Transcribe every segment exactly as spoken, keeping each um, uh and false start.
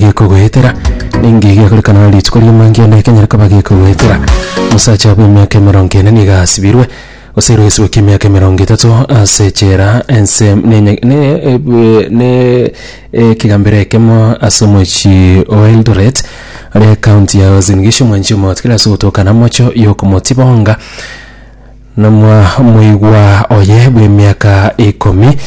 gekogoetera ningi gekorekana rituko ri'omangiana ekenyare koba gekogoetera. Omosacha bw'emiaka emerongo ene nigo asibirwe gose eroisiwe ki'emiaka emerongo etato ase echela ense nenye ne ebwe ne ekegambero ekemo ase omochie o Eldoret ore ekaunti ya Uasin Gishu mwanchi omotikire ase ogotoka namocho yokomotibonga namwa moigwa oye bw'emiaka ikomi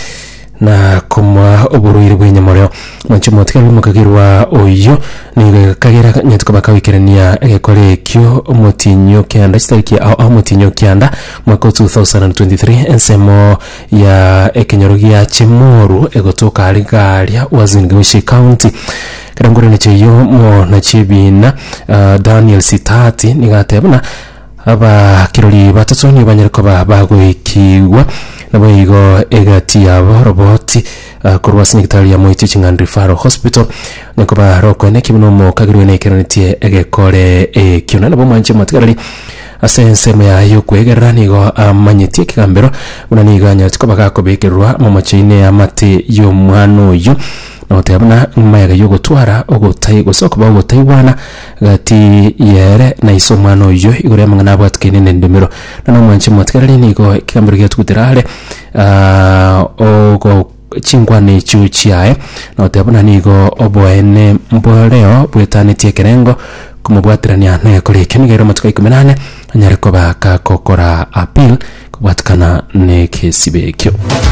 na komoa oborwaire bw'enyamoreo. Mwanchi omotigari bw'omokagerwa oyio nigo kagera nyatuko bakagoikerania egekore ekio omotinyo kianda chitariki ao ao omotinyo kianda mwaka o two thousand and twenty-three ensemo ya ekenyoro gia Chemoru egotoka are garia Uasin Gishu County. Kera ngorane eyio monachi ebina uh, Daniel Sitati nigo ateba buna abakirori batatu nigo banyare koba bagoikigwa nabo igo egati yabo roboti uh, korwa ase nyagetari ya Moi Teaching and Referral Hospital nyakoba rokoene kibuna omokagirwe nekeronetie egekore ekio. Na nabo mwanche motigarari ase ensemo yaye yokwegerera nigo amanyetie ekegambero buna nigo anyarete koba gakobekerwa momocheine amate y'omwana oyo nogoteba buna mayega yogotwara ogotai gose okoba ogotaigwana gati yere na ise omwana oyo igoro y'amang'ana abwatikaine na endemero. Na nomwanche motigarari nigo ekegambero giatugutera are ah, ogo chingwana echio chiaye nogoteba buna nigo oboene mboreo bwetanetie ekerengo komobwaterania na egekora ekio nigo ere amatuko ikomi na ane anyare koba gakokora appeal kobwatikana na ekesibe ekio.